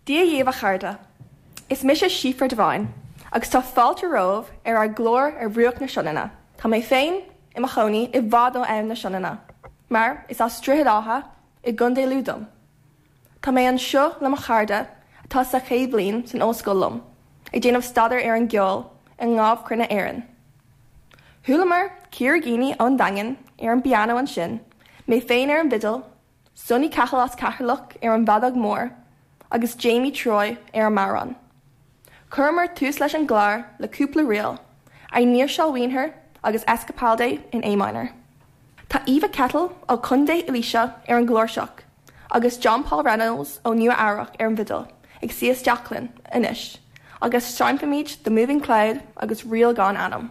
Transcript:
Dia dhaoibh a chairde. Is mise Síofra Devine agus tá fáilte romhaibh ar ár gclár Ar Bhruach na Sionainne. Tá mé féin i mo chónaí i bhfad ó Abhainn na Sionainne, mar is as Droichead Átha i gContae Lú dom. Tá mé anseo le mo chairde atá sa chéad bhliain san ollscoil liom, ag déanamh staidéar ar an gceol i nDámh Cruinne Éireann. Chualamar Ciara Geaney ón Daingean ar an bpianó ansin, mé féin ar an bhfidil, Sonny Cahill as Ceatharlach ar an bhfeadóg mhór agus Jamie Troy ar an mbodhrán. Chuireamar tús leis an gclár le cúpla ríl, Ein Nírseal agus Escapade in A minor. Tá Eva Kettle ó Chontae Laoise ar an gcláirseach agus John Paul Reynolds ó Nua Eabhrac ar an bhfidil ag suí isteach linn anois agus seinnfimid The Moving Cloud agus Ríl gan Ainm.